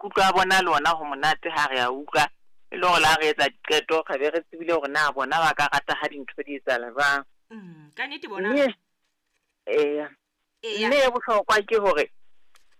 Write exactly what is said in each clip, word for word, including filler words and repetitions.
Maikutlo a bona le ona ho monate ha re a utlwa, e le hore le ha re etsa diqeto re be re tsebile hore na bona ba ka rata ha dintho di etsahala jwang. Mm, ka nnete bona. Mme eya. Eya. Mme e bohlokwa ke hore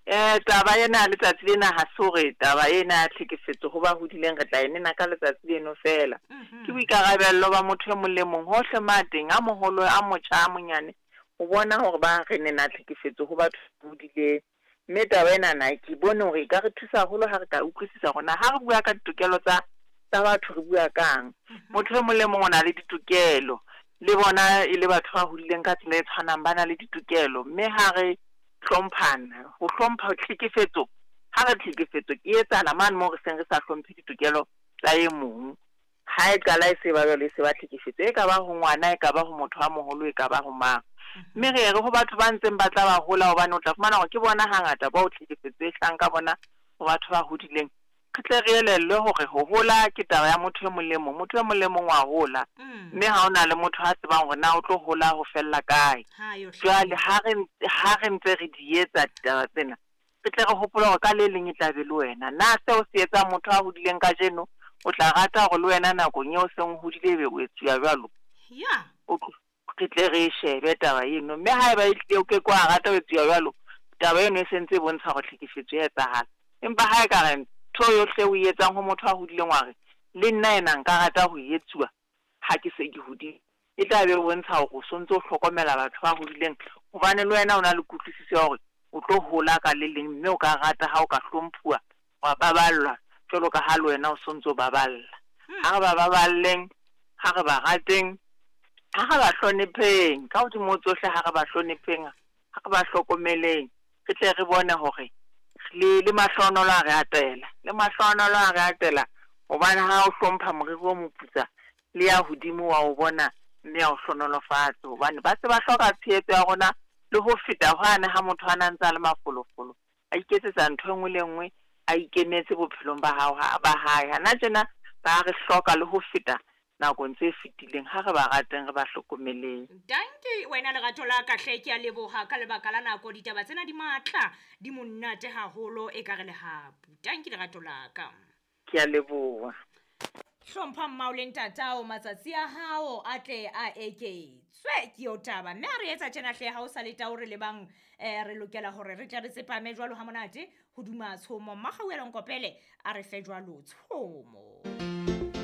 eh taba ena letsatsi lena ha se hore taba ena ya tlhekefetso ho ba hodileng re tla e nena ka letsatsi leno fela. Mhm. Ke boikarabello ba motho e mong le mong hohle ma teng, a moholo, a motjha, a monyane, ho bona hore ba re nena tlhekefetso ho batho ba hodileng. Mme taba enana ke bone hore e ka re thusa haholo ha re ka utlwisisa hore na ha re bua ka ditokelo tsa, tsa batho re bua kang. Motho e mong le mong o na le ditokelo, le bona e le batho ba hodileng ka tsela e tshwanang ba na le ditokelo. Mme ha re hlomphana, ho hlompha tlhekefetso, ha re tlhekefetso ke etsahala mane moo re seng re sa hlomphe ditokelo tsa e mong. Ha e qala e se ba jwalo, e se ba tlhekefetso, e ka ba ho ngwana, e ka ba ho motho a moholo, e ka ba ho mang. Mme re re ho batho ba ntseng ba tla ba hola, hobane o tla fumana hore ke bona hangata bao tlhekefetso e hlahang ka bona ho batho ba hodileng. Re tle re elellwe hore ho hola ke taba ya motho e mong le mong, motho e mong le mong wa hola. Mm. Mme ha hona le motho a tsebang hore na o tlo hola ho fella kae. Ha yo Jwale ha re ntse, ha re ntse re di etsa ditaba tsena, re tle re hopole hore ka le leng e tla be le wena. Na seo se etsang motho a hodileng kajeno, o tla rata hore le wena nakong eo o seng o hodile ebe o etsuwa jwalo? Ya. O tlo, re tle re e shebe taba eno. Mme haeba e hlile o ke ke wa rata ho etsuwa jwalo, taba eno e sentse e bontsha hore tlhekefetso ya etsahala. Empa ha e ka re ntho yohle o e etsang ho motho a hodileng wa re, le nna ena nka rata ho e etsuwa ha ke se ke hodile, e tla be e bontsha hore o sontso o hlokomela batho ba hodileng, hobane le wena o na le kutlwisiso ya hore o tlo hola ka le leng, mme o ka rata ha o ka hlomphuwa, wa baballwa jwalo ka ha le wena o sontso o baballa. Ha re ba baballeng, ha re ba rateng, ha re ba hlonipheng, ka hodimo ho tsohle ha re ba hlonipheng, ha re ba hlokomeleng, re tle re bone hore le, le mahlohonolo a re atela, le mahlohonolo a re atela, hobane ha o hlompha moriri o moputsa, le ya hodimo wa o bona, mme ya o hlohonolofatse, hobane ba se ba hloka tshehetso ya rona le ho feta hwane ha motho a na ntse a le mafolofolo, a iketsetsa ntho e nngwe le e nngwe, a ikemetse bophelong ba hao, ha, ba hae. Hana tjena ba re hloka le ho feta nakong tse fetileng. Ha re ba rateng, re ba hlokomeleng. Danki wena lerato la ka hle, ke a leboha ka lebaka la nako. Ditaba tsena di matla, di monate haholo, e ka re lehapu. Danki lerato la ka. Ke a leboha. Hlompha mmao le ntatao, matsatsi a hao a tle a eketswe. Ke eo taba. Mme ha re etsa tjena hle, ha o sa le tao re lebang, eh, re lokela hore re tle re tsepame jwalo ha monate hodima tshomo. Mmakgauela Nkopele a re fe jwalo tshomo.